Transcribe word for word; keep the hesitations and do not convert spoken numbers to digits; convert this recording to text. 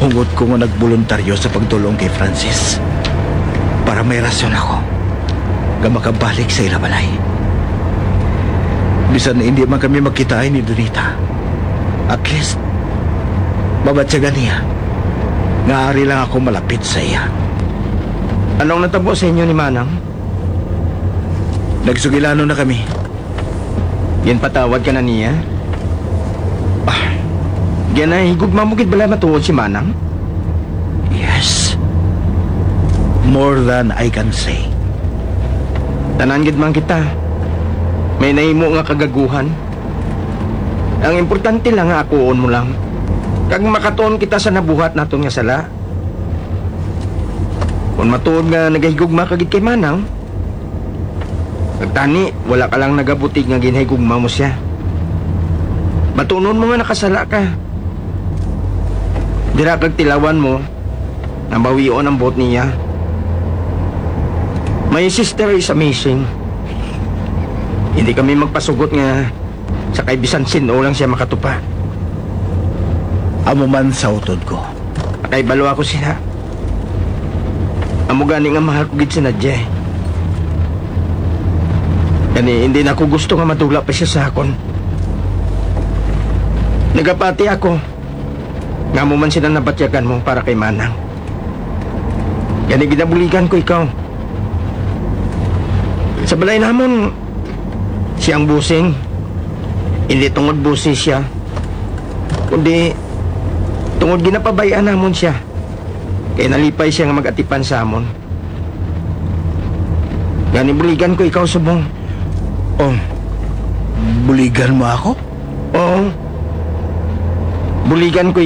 Tungod ko nga nagboluntaryo sa pagdul-ong kay Francis, para may rason ako nga makabalik sa ila balay. Bisan hindi man kami magkitaay ni Donita, at least, mabatyagan niya nga ari lang ako malapit sa iya. Anong natabo sa inyo ni Manang? Nagsugilanon na kami. Ginpatawad ka na niya? Ah, ginahigugma mo gid bala matuod si Manang? Yes. More than I can say. Tanan gid man kita. May nahimo nga kagaguhan. Ang importante lang nga akuon mo lang. Kag makatuon kita sa nabuhat naton nga sala. Kung matuod nga nagahigugma ka gid kay Manang, kag tani, wala ka lang nagabutig nga ginhigugma mo sia. Batunon mo nga nakasala ka. Dira kag tilawan mo nga bawion ang buot niya. My sister is amazing. Hindi kami magpasugot nga sa kay bisan sin-o lang sia makatupa. Amo man sa utod ko. Nakahibalo ako sina. Amo gani nga mahal ko gid si Nadia, eh. Gani, hindi na ako gusto nga madula pa siya sa akon. Nagapati ako nga amo man sina nabatyagan mo para kay Manang. Gani, ginabuligan ko ikaw. Sa balay namon, siya ang busing. Hindi tungod busi siya, kundi tungod ginapabay-an namon siya. Kay nalipay siya nga mag-atipan sa amon. Gani, buligan ko ikaw subong. Oh, buligan mo ako? Oo. Buligan ko